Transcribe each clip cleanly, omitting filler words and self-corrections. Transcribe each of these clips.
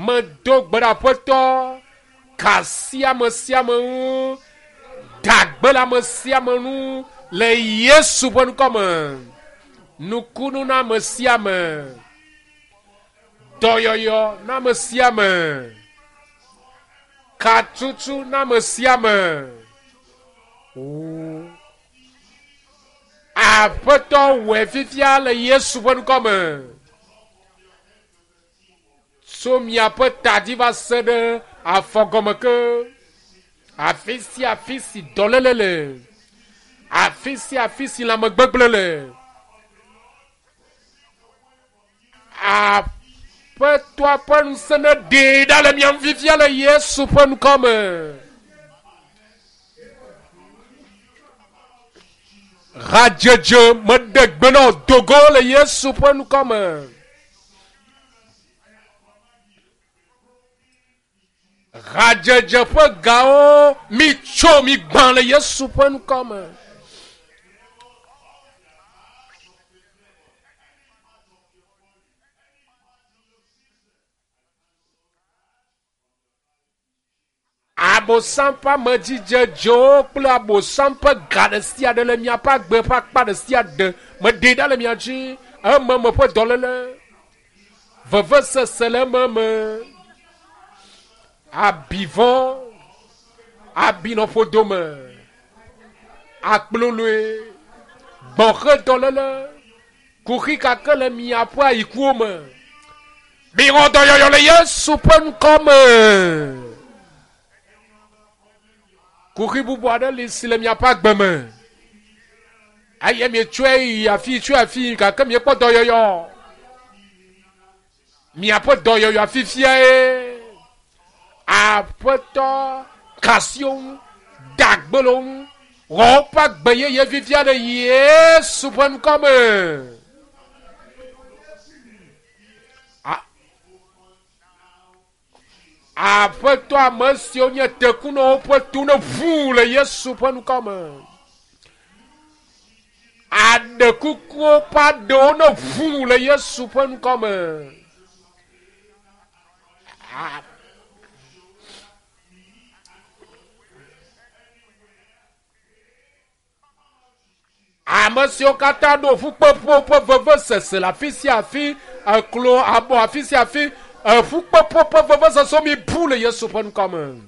Medo gbe ɖe Aƒetɔ, ka asi ame sia ame ŋu, da gbe le ame sia ame ŋu le Yesu ƒe ŋkɔ me. Nukunu na ame sia ame. Dɔyɔyɔ na ame sia ame. Katutu na ame sia ame. Aƒetɔ wɔe fifia le Yesu ƒe ŋkɔ me. Tso miaƒe ta dzi va se ɖe afɔgɔme ke. Afi sia afi si dɔléle le. Afi sia afi si lãmegbegblẽ le. Aƒetɔa ƒe ŋusẽ neɖee ɖa le mia ŋu fifia le Yesu ƒe ŋkɔ me. Hadzedze meɖe gbe na wò do go le Yesu ƒe ŋkɔ me. Hadzedze ƒe gawo mitso migbã le Yesu ƒe ŋkɔ me. Abosam ƒe amedzidzedzewo kple abosam ƒe ga ɖe sia ɖe le miaƒe agbe ƒe akpa ɖe sia ɖe meɖee ɖa le mia dzi. Ememe ƒe dɔléle, vevesese le ememe, abivɔ, abinɔƒodome, akploloe, gbɔxedɔléle, kuxi kake le miaƒe ayikuwo me. Mixɔ dɔyɔyɔ le Yesu ƒe ŋkɔ me. Kuxi bubu aɖe li si le miaƒe agbe me. Eye mietsɔe yi afi tsɔe afi gake miekpɔ dɔyɔyɔ. Miaƒe dɔyɔyɔ fifiae. Aƒetɔ kasiwo ŋu, da gbe le wo ŋu, wɔ woƒe agbe yeye fifia le Yesu ƒe ŋkɔ me. Aƒetɔ ame siwo nye tekunɔwo ƒe to ne ʋu le Yesu ƒe ŋkɔ me. Aɖe kukuwo ƒe aɖewo ne ʋu le Yesu ƒe ŋkɔ me. Ame siwo katã ɖo ƒukpeƒo ƒe vevesese le afi sia afi, eklo abɔ afi sia afi, eƒukpeƒo ƒe vevesese mi bu le Yesu ƒe ŋkɔ me.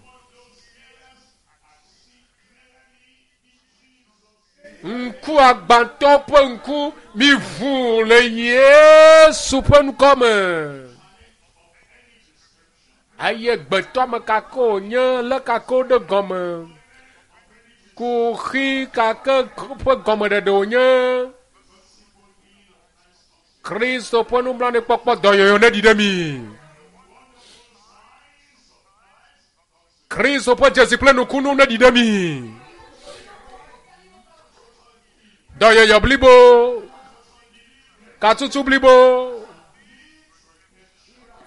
Ŋku agbãtɔ ƒe ŋku mi ʋu le Yesu ƒe ŋkɔ me. Eye gbetɔame kake wònye, lé kake woɖe gɔme, kuxi kake ƒe gɔmeɖeɖe wònye. Kristo ƒe nublanuikpɔkpɔ dɔyɔyɔ neɖi ɖe mi. Kristo ƒe dzesi kple nukunu neɖi ɖe mi. Dɔyɔyɔ blibo, katutu blibo,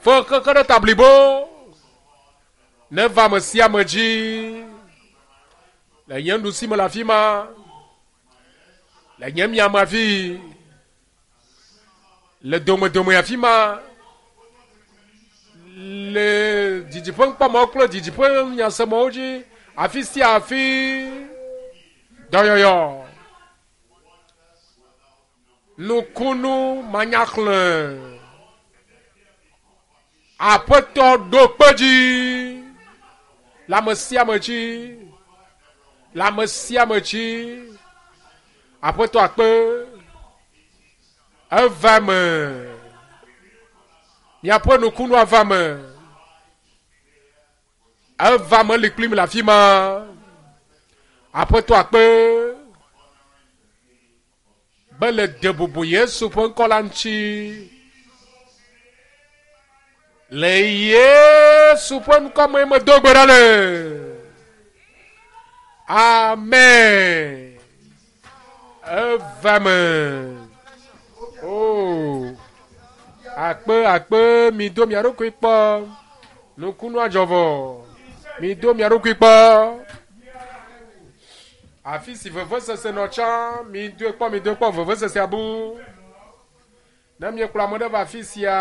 fe xexe ɖe ta blibo neva ame sia ame dzi le nye nuɖusi me le afi ma, le nye miame afi, le domedome afi ma, le didiƒe ŋkpɔmɔwo kple didiƒe nyasemɔwo dzi, afi sia afi dɔyɔyɔ. Nukunu manyaxlẽ. Aƒetɔ ɖo kpe dzi le ame sia ame dzi, le ame sia ame dzi. Aƒetɔ akpe. Eva eme. Miaƒe nukunu ava eme. Eva me li kplim le afi ma. Aƒetɔ akpe be le de bubu Yesu ƒe ŋkɔ la ŋuti. Le Yesu ƒe ŋkɔ me medo gbe ɖa le. Amen. Eva me. Oh. Akpe akpe mi do mia ɖokui kpɔ. Nukunu adzɔ vɔ. Mi do mia ɖokui kpɔ. Afi si vevesese nɔ tsã, mi doe kpɔ, mi doe kpɔ vevesese abu. Ne miekplɔ ame ɖe va afi sia.